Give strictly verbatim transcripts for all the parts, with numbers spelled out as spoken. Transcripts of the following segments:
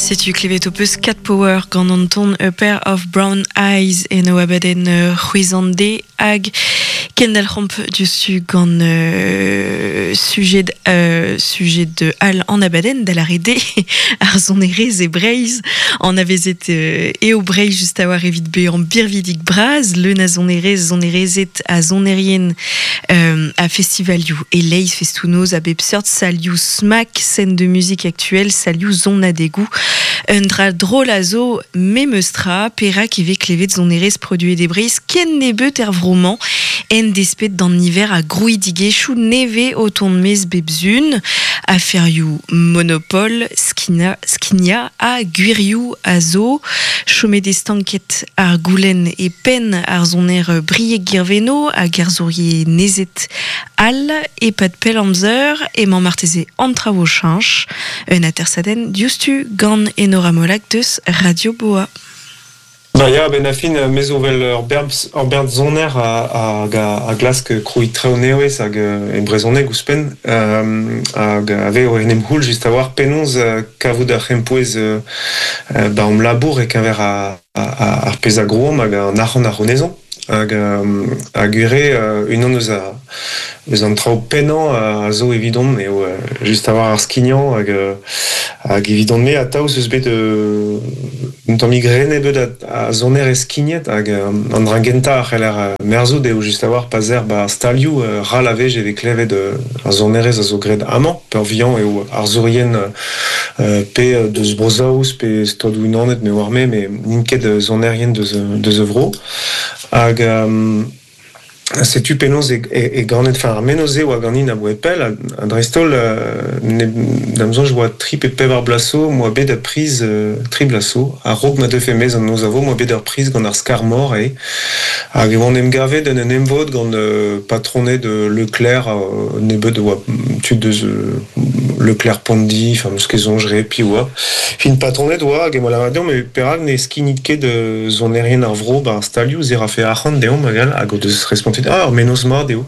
Setu klevet o peus Cat Power gant an ton A Pair of Brown Eyes en o abadenn c'hwezan-de hag kendal c'homp diouzhtu gant euh, sujet, euh, sujet de al an abadenn da la rede ar sonerezh e Breizh an avezet euh, eo Breizh just a war evit be an birvidik braz leun a sonerezh sonerezet a sonerien euh, a festivalioù e leiz festounoz a bep seurt salioù smack scène de musique actuelle salioù zonadegou un dra drôle a zo memeustra perak eve klevet sonerezh produet e Breizh ken nebeut er vromañ en despet d'an niver a grouidigezhioù neve o ton mez bebzun aferioù monopole skina, skinia a gwirioù a zo chomet estanket ar goulenn e penn ar zoner brieg girveno hag ar zourier nezet al e pad pell amzer emañ marteze an traoù cheñch un atersadenn diouzhtu gant Enora Molak deus Radio Boa. Ba ya, ben a fin, me zo vel ur bern, ur bern zoner a, a, a glask kroui treo newez hag e brezhoneg ouzhpenn euh, hag ave o en em c'houl just a war penaos kavout ar c'hempouez euh, ba om labour e keñver a, a, a, ar pezh a grouomp hag an arc'hant ar c'honezañ hag hag ure unan eus a eus an traoù pennañ a zo evidon eo just a war ar skignañ hag hag evidon me atav eus bet un tamm grene bet a, a zoner e skignet hag an dra gentañ a c'heller merzout eo just a war pa zer ba stalioù ral a vej eve klevet ar sonerezh a zo graet amañ peurvuiañ eo ar zourien pe deus Bro-Saoz pe Stadoù Unanet me war me me n'int ket sonerien deus deus vro hag um, setu penaos e, e, e ganet, enfin ar menoz eo a ganin a boe pell, a dreist-holl, euh, da'm soñj oa tri pe pevar blaso, moa bet a priz euh, tri blaso, a raok ma deufe mez an noz a vo, moa bet ur priz gant ar skar-mor e, hag e oan em gavet en un emvod gant euh, patroned de Leclerc, euh, nebeut oa tud deus euh, Leclerc Pondi, enfin meus ket soñj re pi oa. Fin patroned oa hag e moa lavaret deomp, me perak ne skinit ket euh, sonerien ar vro ba ar stalioù ze rafe arc'hant deomp hag all, hag o deus respontet ah, ar menoz mat eo.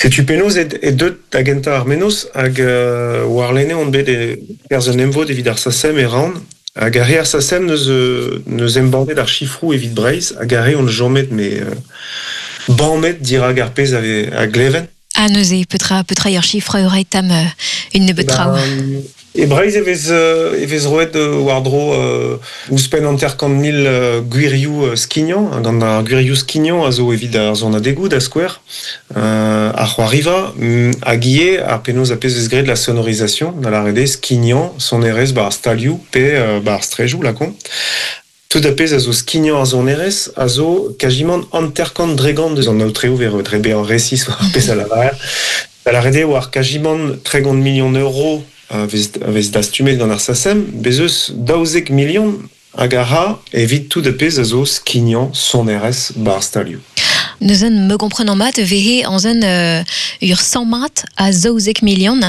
Setu penaos e, e deut da gentañ ar menoz hag euh, war lene on bet e perzh un emvod evit ar SACEM e ran hag ar re ar SACEM neus, neus embannet ar chifroù evit Breizh hag ar re on jomet me euh, bannet dirag ar pezh ave a gleven. Ah neuze, petra, petra ur chifre ur tam euh, une nebeut traoù. E Breizh e vez, e vez roet war-dro euh, ouzhpenn hanter-kant mil euh, gwirioù euh, skignañ, gant ar gwirioù skignañ a zo evit ar zonadegoù da skouer, euh, ar c'hoariva, hag ivez ar penaos a pezh vez graet la sonorisation, da lâret eo skignañ sonerezh ba ar stalioù pe euh, ba ar strejoù lakaomp. Tout a pezh a zo skignañ ar sonerezh a zo kajimant hanter-kant dregant deus an aotreoù ver dre bezañ resis war ar pezh a lavarer. Da lâret eo war kajimant tregont million euro a vez, a vez dastumet gant ar SACEM, bez eus daouzek million hag a ra evit tout a pezh a zo skignañ sonerezh ba ar stalioù. Neuzen me gomprenan mat vehe an zen euh, ur cent mat a zaouzek million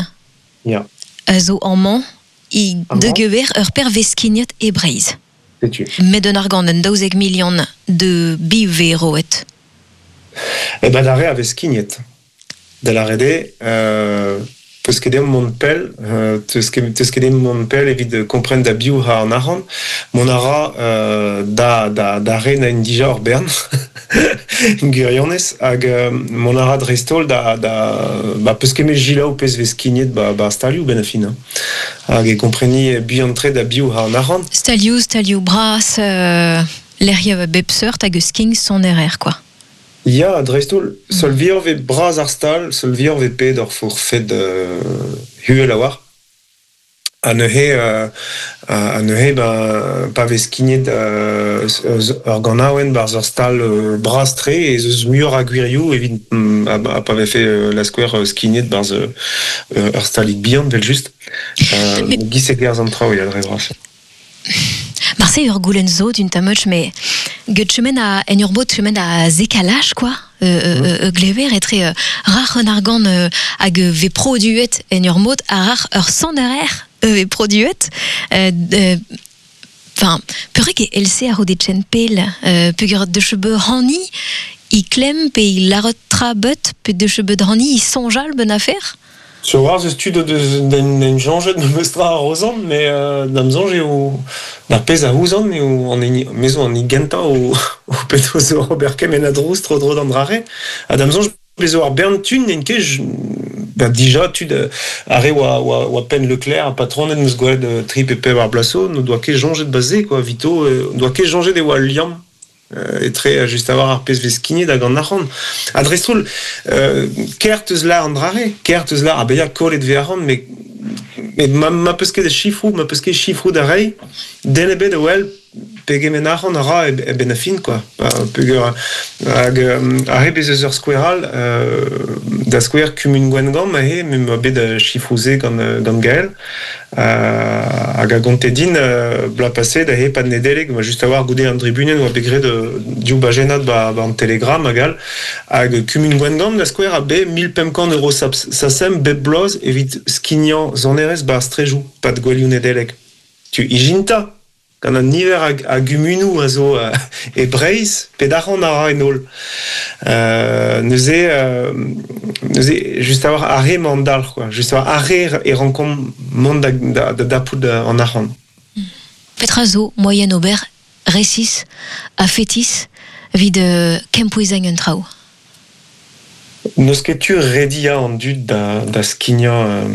Ya. a zo amañ i Amañ. de gewer ur per vez skignet e Breizh. Setu. Met un argant un daouzek million de bi ve roet. E ben da re a vez skignet. Da lâret eo, euh, peus ket deomp mont pell, euh, teus ket, teus ket deomp mont pell evit kompren da biv ha an arc'hant, mont a ra euh, da, da, da re na en dija ur bern, gwirionez, hag euh, mont a ra dreist-holl da, da, ba, peus ket me jilaou pezh vez skignet ba, ba stalioù ben a fin. Hein. Hag e kompreni buan tre da biv ha an arc'hant. Stalioù, stalioù bras, euh, lec'hioù bep seurt hag eus skign sonerer, quoi. Ya, dreist-holl, seul vioc'h vez bras ar stal, seul vioc'h vez pet ur forfed euh, huel a war. Ha neuze, euh, ha neuze, ba, pa vez skignet euh, ur ganaouenn barzh ur stal euh, bras-tre ez eus muioc'h a gwirioù evit mm, a, a pa vefe euh, la skouer euh, skignet barzh euh, ur stalig bihan, vel just. Euh, Mais- Giz e gerzh an traoù, ya, dre vras. Marse ur goulenn zo d'un tamoch, mais get chemen a, en ur bot chemen a zekalaj, quoi. Euh, euh, mm. euh, glever etre euh, rac'h un argant euh, hag ve produet en ur mod a rac'h ur sonerer ve produet. Euh, euh, Enfin, peurek e L C a ro de chen pel, euh, peogwir de chebe hani, i klemm pe i larot tra beut, pe de chebe hani i soñjal ben affaire. Sur war zeus tud deus den den janjet me meustra ar rozan, mais euh, da'm soñj eo d'ar pezh a ouzan eo an hini me zo an hini gentañ o o peto zo ober kement a drouz tro-dro d'an drare. Ha da'm soñj bezo ar bern tud n'int ket ba dija tud ar re oa, oa, oa Penn Leclerc a patronet meus gwelet euh, tri pe pevar ar blaso, n'o doa ket janjet baze quoi, vito, euh, doa ket janjet e oa liamm euh, etre just a war ar pezh vez skignet hag an arc'hant. Ha dreist-holl, euh, kert eus lar an drare, kert eus lar a bezañ kollet vez arc'hant, mais mais ma, ma peus ket chifroù, ma peus ket chifroù da reiñ, den ebet a wel pegement arc'hant a ra e, e ben a fin, quoi. Ba, peogwir hag ar re bez eus ur skouer all, euh, da skouer kumun Gwengamp aze, me ma bet chifroù-se gant, gant Gaël, euh, hag a gonte din euh, bloaz paset aze pad Nedeleg, ma just a war goude an dribunen oa bet graet euh, div bajennad ba, ba an Telegram hag all, hag kumun Gwengamp da skouer a be mil pemp kant euro sasem bep bloaz evit skignañ sonerezh ba ar strejoù, pad gouelioù Nedeleg. Tu ijinta gant an niver a, a gumunoù a zo euh, e Breizh, pet arc'hant a ra en holl. Euh, neuze, euh, neuze, just a war ar re mañ an dalc'h, quoi. Just a war ar re e rankomp mont da, da, da dapout an arc'hant. Petra zo moaien ober resis ha fetis evit euh, kempouezañ un traoù? N'eus ket tu rediañ an dud da, da skignañ,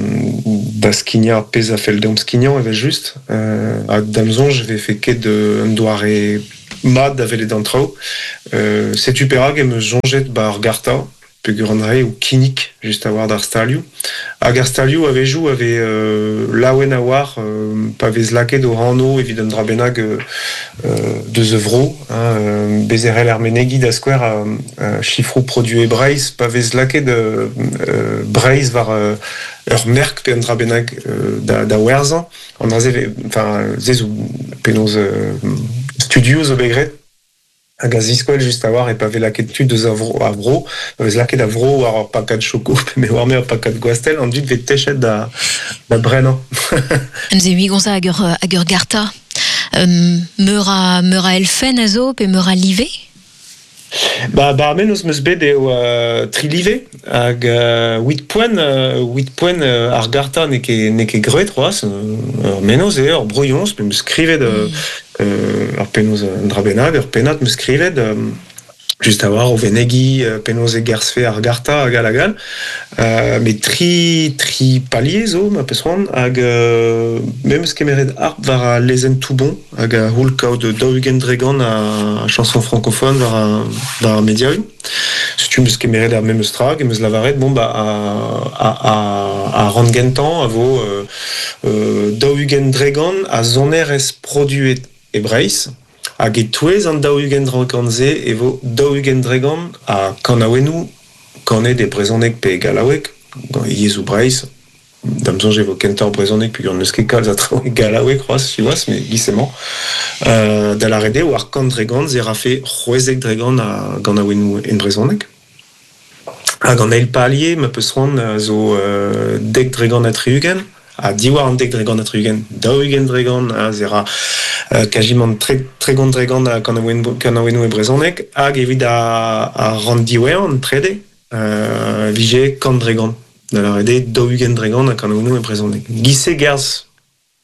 da skignañ ar pezh a fell deomp skignañ evel just. Euh, hag da'm soñj e vefe ket un doare mat da welet an traoù. Euh, setu perak em eus soñjet ba ar garta, peogwir an dra eo kinnig just a war d'ar stalioù. Hag ar stalioù a-wezhioù a vez euh, laouen a-walc'h euh, pa vez lakaet o anv evit un dra bennak euh, deus e vro, hein, bez e c'hell ar menegi da skouer euh, chifroù produet e Breizh, pa vez lakaet euh, Breizh war euh, ur merk pe un dra bennak euh, da, da werzhañ. An dra-se enfin, se zo penaos euh, studioù zo bet graet hag a ziskouel just a war e pa vez lakaet tud deus a vro, a vro, pa vez lakaet a vro war ur pakad choko, pe me war me ur pakad gwastell, an dud vez techet da, da brenañ. Neuze ui gonza hag ur, hag ur garta. Um, meur a, meur a elfenn a zo pe meur a live? Ba, ba ar mennozh 'm eus bet eo euh, tri live hag euh, huit poent, euh, huit poent euh, ar garta n'eo ket, n'eo ket graet c'hoazh, ur mennozh eo, ur brouilhoñs, me 'm eus skrivet euh, mm. euh, ur penaos un dra bennak, ur pennad 'm eus skrivet euh, just a war o venegi euh, penaos e gerzhfe ar garta hag all hag all. Euh, met tri, tri palier zo, ma peus c'hoant, hag euh, me 'm eus kemeret harp war al lezenn Toubon hag a c'houl kaout daou-ugent dregant a, a chanson francophone war a, war ar mediaoù. Setu 'm eus kemeret ar memes tra, hag em eus lavaret, bon, ba, a, a, a, a ran gentañ a vo euh, euh, daou-ugent dregant a sonerezh produet e Breizh, hag e-touez an daou-ugent dregant-se e vo daou-ugent dregant a kanaouennoù kanet e brezhoneg pe e gallaoueg, gant yezhoù Breizh. Da'm soñj e vo kentoc'h brezhoneg peogwir n'eus ket kalz a traoù e gallaoueg c'hoazh, siwazh, mais giz-emañ. Euh, da lâret eo war kant dregant se rafe c'hwezek dregant a ganaouennoù en brezhoneg. Hag an eil palier, ma peus c'hoant, zo euh, dek dregant ha tri-ugent, ha diwar an dek dregant ha tri-ugent, daou-ugent dregant, ha se ra euh, kazimant tre, tregont dregant a kanaouennoù, kanaouennoù e brezhoneg, hag evit a, a ran diwezhañ, an trede, euh, vije kant dregant. Da lâret eo daou-ugent dregant a kanaouennoù e brezhoneg. Giz-se gerzh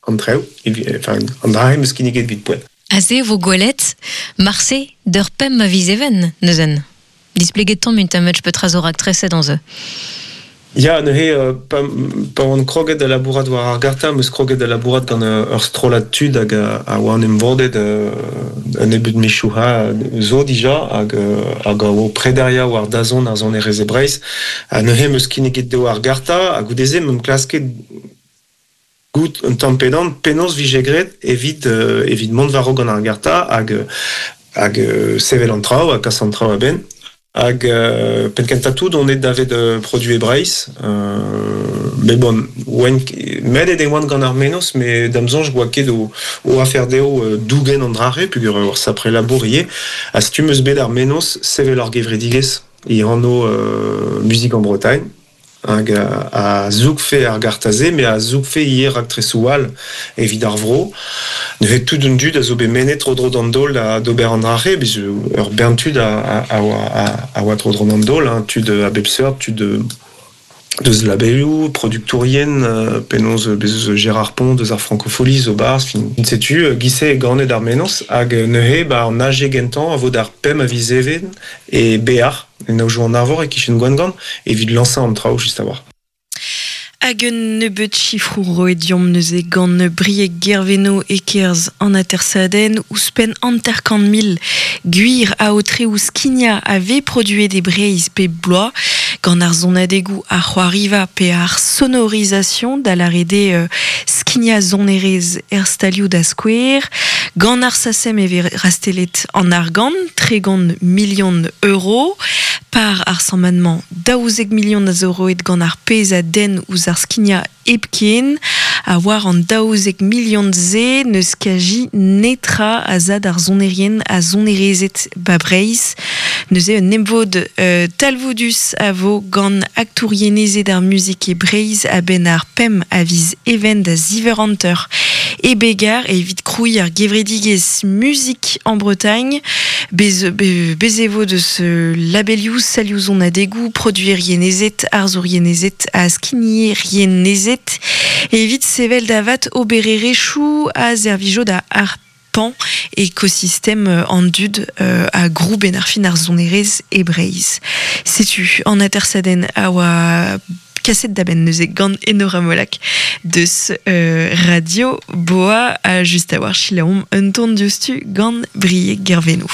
an traoù, enfin, an dra em eus kinniget evit poent. Aze vo gwelet, marse d'ur pemp a viz even, neuzen. Displeget tamm un tamm petra zo raktreset an ze. Ya, neuze, euh, pa, pa oan kroget da labourat war ar garta, 'm eus kroget da labourat gant ur strollad tud hag a, a oan em vodet euh, un nebeud mizioù ha zo dija hag, hag a oa prederia war dazont ar sonerezh e Breizh. Ha neuze 'm eus kinniget dezho ar garta, ha goude-se 'm eus klasket goût un tamm pedan penaos vije graet evit, euh, evit mont war-raok gant ar garta hag, hag euh, sevel an traoù ha kas an traoù a-benn. Hag euh, penn kentañ tout on eo davet euh, produit e Breizh. Euh, mais bon, oan, met e oan gant ar mennozh, mais da'm soñj oa ket o, o afer dezho euh, dougen an drare, peogwir ur sapre labour ivez. Ha setu 'm eus bet ar mennozh sevel ar gevredigezh e anv euh, Musique en Bretagne. Hag a, a zougfe ar garta-se, mais a zougfe ivez raktresoù all evit ar vro. Neuze tout un dud a zo bet mennet tro-dro d'an daol da d'ober an drare, bez ur bern tud a, a, a, a, a oa tro-dro d'an daol, hein, tud a bep seurt, tud deus labelioù, produktourien, euh, penaos bez eus Gérard Pont, deus ar Francofolies zo barz, fin setu, euh, gise e ganet ar menoz, hag neuze ba an age gentan a vo d'ar pem a viz even e bear, en aojo an arvor e kichen Gwengamp, evit lansañ an traoù just a-walc'h. Hag un nebeut chifrou roet diomp neuze gant Brieg Gerveno e kerz an atersadenn ouzhpenn hanter-kant mil gwir aotre ouzh skignañ a vez produet e Breizh pe bloaz gant ar sonadegoù ar c'hoariva pe ar sonorisation da lâret eo euh, skignañ sonerezh er stalioù da skouer gant ar SACEM e vez rastellet an argant tregont milion euro par ar sammañ daouzek milion a zo roet gant ar pezh a denn ouzh ar skignañ hepken a war an daouzek milion ze n'eus kazi netra a za d'ar sonerien a sonerezed ba Breizh. Neuze un emvod euh, talvoudus a vo gant aktourienezed ar muzik e Breizh a-benn ar pemp a viz even da ziv eur hanter e Begar evit krouiñ ar gevredigezh Musique en Bretagne. Bez, be, bez e vo deus labelioù salioù sonadegoù, produerienezed, arzourienezed ha skignerienezed evit sevel da vat obererezhioù a servijo da ar pan ekosistem an dud euh, a grou ben ar fin ar sonerezh e Breizh. Setu an atersadenn a oa kaset da benn neuze gant Enora Molac deus euh, Radio Boa a just a-walc'h selaomp un ton diouzhtu gant Brieg Gerveno.